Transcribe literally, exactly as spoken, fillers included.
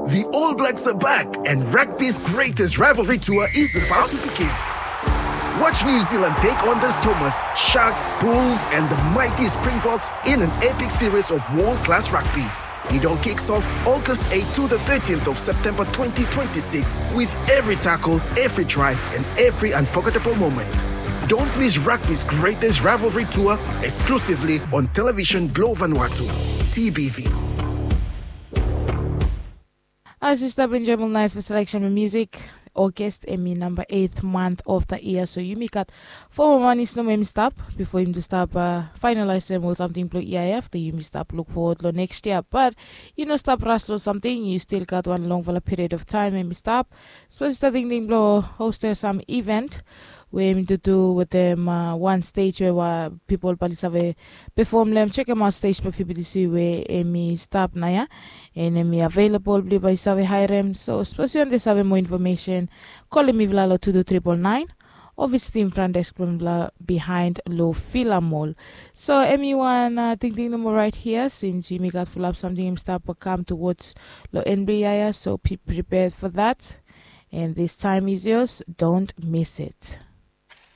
The All Blacks are back, and rugby's greatest rivalry tour is about to begin. Watch New Zealand take on the Stormers, Sharks, Bulls, and the mighty Springboks in an epic series of world class rugby. It all kicks off August eighth to the thirteenth of September twenty twenty-six, with every tackle, every try, and every unforgettable moment. Don't miss rugby's greatest rivalry tour, exclusively on television Globe Vanuatu, T B V. As yu stap enjoy ol nice selection of music, August hemi number eighth month of the year, so yumi gat four more months nomo hemi stap before yumi tu stap uh, finalisem ol samting blo E I F, then yumi stap look forward lo next year. But yu no stap rush lo samting, yu still gat wan longfala period of time hemi stap. Suppose yu stap tingting blo host some event we hemi tu tu wetem uh, wan stage we wa people bali save perform lem, check em out stage blo F B T C we hemi stap nao ya, and hemi available blo bai save hire em. So suppose yu want save more information, call him mivla lo two two triple nine, or visit him front desk blo mivla behind lo Villa Mall. So hemi wan uh, tingting nomo right here, since yumi gat fulap samting hemi stap come towards lo N B I, so be prepared for that. And this time is yours, don't miss it.